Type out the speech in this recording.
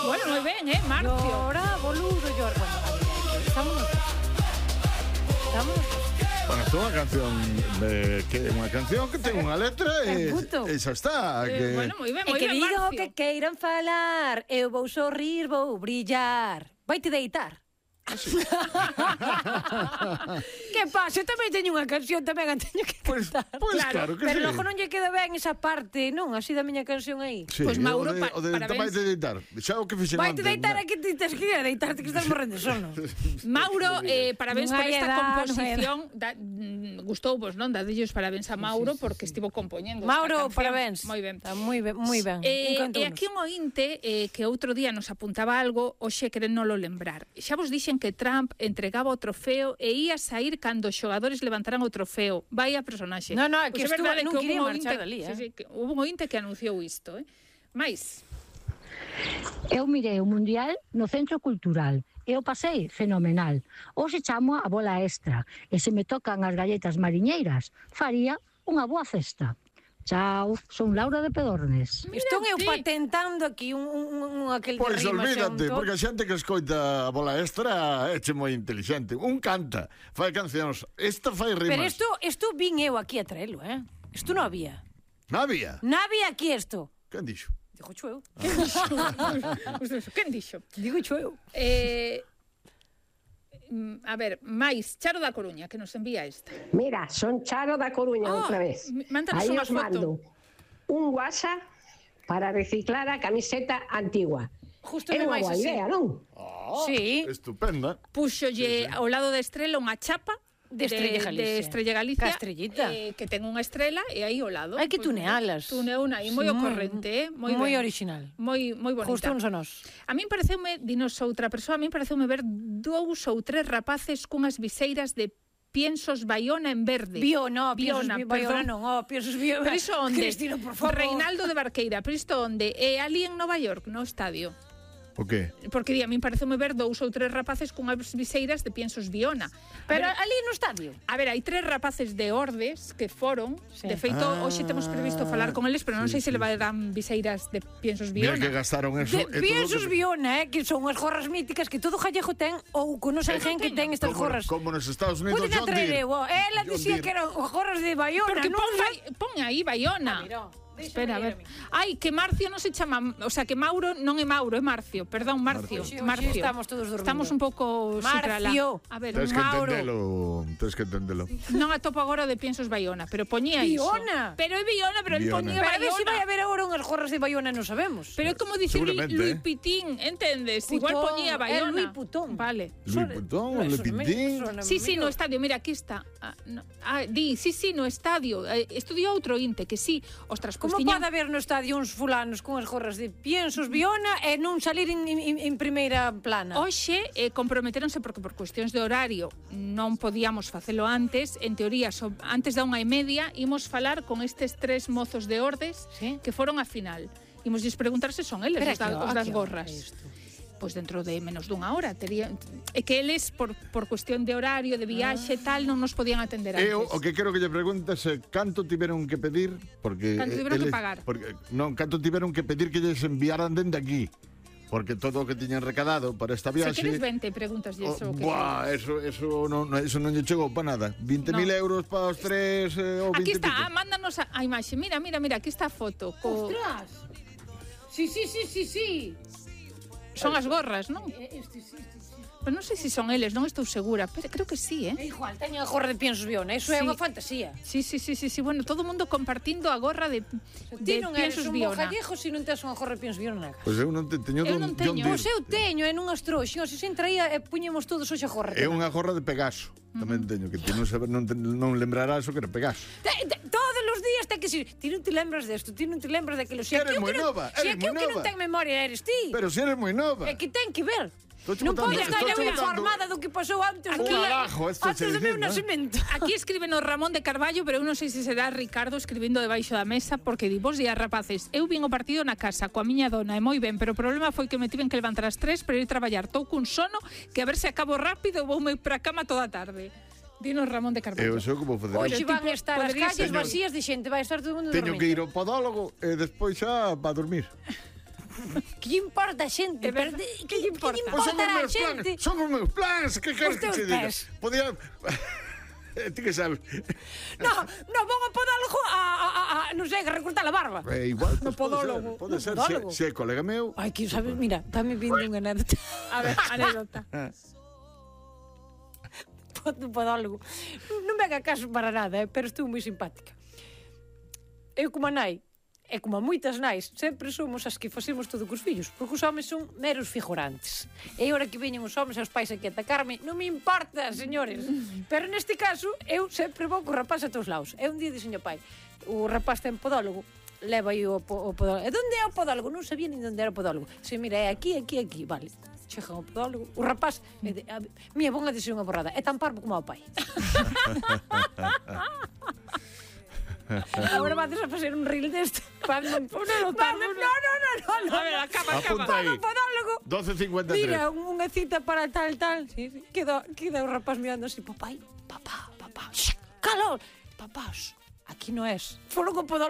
Bueno, moi ben, Marcio. Llora, boludo, llora. Bueno, vámonos. Bueno, isto é unha canción que ten unha letra e xa está. Bueno, moi ben, E que digan o Marcio. que queiran falar, eu vou sorrir, vou brillar. Vaite deitar. Que pasa? Eu tamén teño unha canción, tamén a teño que cantar. Pois claro que Pero sí. logo non lle queda ben esa parte, non? Así da miña canción aí. Sí, Pois, Mauro, o de parabéns. vaite deitar. Xa o que fixen Vaite antes. deitar aquí, ti tes que ir a deitarte que estás morrendo de sono. Mauro, parabéns Non por hai esta edad, composición. Gustou vos, non? Dadillos parabéns a Mauro porque estivo compoñendo Mauro, esta canción. parabéns. Moi ben. Está moi ben, moi ben. E aquí un ointe que outro día nos apuntaba algo, hoxe querénolo lembrar. Xa vos dixen que Trump entregaba o trofeo e ia sair cando os xogadores levantaran o trofeo. Vai a personaxe. No, que Pois é estuvo, verdade non que quería houve un marchar ointe- dali, Sí, que houve un ointe que anunciou isto, Mais Eu mirei o Mundial no Centro Cultural e o pasei fenomenal. Hoxe chamo a bola extra e se me tocan as galletas mariñeiras, faría unha boa festa. Chao, son Laura de Pedornes. Estou eu ti. patentando aquí un aquel Pois de rima olvídate, xunto. porque a xente que escoita a bola extra é moi inteligente. Un canta, fai cancións. Esta fai rimas. Pero isto vin eu aquí a traelo, Isto non había. Non había. Non había aquí isto. Quen dixo? Digo cho eu. quen dixo? Digo cho eu. A ver, máis Charo da Coruña que nos envía esta. Mira, son Charo da Coruña outra vez. Mándanos Aí unha os mando foto. un WhatsApp para reciclar a camiseta antigua. Justo É de unha máis boa así. idea, non? Sí. Estupenda. Puxolle ao lado da estrela unha chapa De Estrella Galicia. De Estrella Galicia. Ca estrellita. Que ten unha estrela e aí ao lado. Hai que tunealas. Tuneuna aí, moi ocorrente, moi moi ben. original. Moi bonita. Justo uns a nós. A min pareceume, dinos outra persoa, a min pareceume ver 2 ou 3 rapaces cunhas viseiras de piensos Baiona en verde. Biona, Biona, Baiona perdón. non, piensos Biona. Pero iso onde? Cristina, por favor. Reinaldo de Barqueira, pero isto onde? Ali en Nova York, no estadio. O qué? Porque a min pareceume ver 2 ou 3 rapaces cunhas viseiras de piensos Biona. Pero ali no estadio. A ver, hai 3 rapaces de Ordes que foron. Sí. De feito, hoxe temos previsto falar con eles, pero non sei se levarán viseiras de piensos Mira Biona. que gastaron eso. De piensos Biona, que son as gorras míticas que todo Jallejo ten ou con os gen que ten estas gorras. Como nos Estados Unidos, Pueden John Deere. atraer, ela John dicía Deere. que eran gorras de Baiona, Porque non pon aí Baiona. Espera, a ver. Ai, que Marcio non se chama, o sea, que Mauro non é Mauro, é Marcio. Perdón, Marcio. Marcio. Estamos todos dormindo. Estamos un pouco Marcio. A ver, Tens que Mauro. entendelo. Non atopo agora de piensos Baiona, pero poñía iso. Biona. Pero é Biona, pero el Biona. poñía Para ver se vai Baiona. haber agora unhas gorras de Baiona, non sabemos. Pero é como dicir Seguramente, Louis Pitín, entendes? Igual Putón, poñía é Baiona. Louis Putón. Vale. Louis Vuitton, Le Pitín. Sí, no estadio, mira, aquí está. Sí, no estadio. Estudiou outro inte, que sí. Ostras, Como pues pode haber no estadio uns fulanos con as gorras de piensos Biona e non salir en primeira plana? Hoxe comprometeronse porque por cuestións de horario non podíamos facelo antes. En teoría, antes da 1:30 imos falar con estes 3 mozos de Ordes, Sí. que foron a final. Imos preguntar se son eles Pero os das gorras. Pois dentro de menos dunha hora é que eles por cuestión de horario, de viaxe tal, non nos podían atender antes. Eu o que quero que lle preguntes é canto tiveron que pedir, porque Canto tiveron que pagar. Porque non, canto tiveron que pedir que lles enviaran dende aquí. Porque todo o que tiñan recadado para esta Se viaxe. queres 20 preguntas e eso que Buah, eso non lle chegou para nada. 20.000 euros para os tres ou 20 Aquí está, pico. mándanos a imaxe. Mira, aquí está a foto. Ostras. Sí. Son as gorras, non? Pero non sei se son eles, non estou segura, pero creo que sí, É igual, teño a gorra de piensos Biona, eso é Sí. unha fantasía. Sí, bueno, todo o mundo compartindo a gorra de Ti non eres piensos un bo Biona. gallego se non tes unha gorra de piensos Biona na casa. Pois eu non teño Eu non teño. Pois eu teño, e nunhas trouxas, se traía e puñemos todos hoxe a gorra. É unha gorra de Pegaso. Tamén teño que ti non lembrarás o que era Pegaso. Todos os días ten que ser. Ti non te lembras desto, ti non te lembras daquilo. Se Eres aquí o moi que non- nova, Se eres aquí o moi que non nova. ten memoria eres ti. Pero si eres moi nova. É que ten que ver. Estou Non botando- podes estar estou eu botando- informada do que pasou antes Un alajo, esto antes se do dice, meu ¿no? nacemento. Aquí escríbenos Ramón de Carballo, pero eu non sei se será Ricardo escribindo debaixo da mesa, porque di, bos días, rapaces, eu vin o partido na casa coa miña dona, e moi ben, pero o problema foi que me tiven que levantar ás 3 para ir traballar. Tou cun sono que a ver se acabo rápido voume para a cama toda a tarde. Dinos Ramón de Carballo. Eu sei como facer. Hoxe Pero van tipo, a estar as podería calles ser- vacías de xente, vai estar todo o mundo Teño dormindo. que ir ao podólogo e despois xa para dormir. Que lle importa a xente? Pero, que lle importa? Pois son os a meus plans, xente? son os meus plans, que queres que teus te diga? pés. Podía... Ti que sabes? No, vou a podólogo non sei, a recortar a barba. Igual, No pues, podólogo. pode ser, No podólogo. se é colega meu. Ai, que sabes, mira, dame vindo unha anécdota. A ver, anécdota. Do podólogo. Non me haga caso para nada, pero estou moi simpática. Eu como a nai, e como a moitas nais, sempre somos as que facemos todo cos fillos, porque os homes son meros figurantes. E agora que veñen os homes e os pais aquí a atacarme, non me importa, señores. Pero neste caso, eu sempre vou co rapaz a todos lados. E un día dixen ao pai, o rapaz ten podólogo, leva aí o podólogo. E onde é o podólogo? Non sabía nin onde era o podólogo. Se mira, é aquí, vale. Chegan ao podólogo, o rapaz, mía, bon a dicir unha borrada, é tan parvo como o pai. Agora vas a facer un reel deste. No. No. A ver, acaba. Apunta aí. Podólogo. 12.53. Mira, unha cita para tal. Sí. Queda o rapaz mirando así, papá, shh, calor. Papá, aquí no es. Foron co podólogo.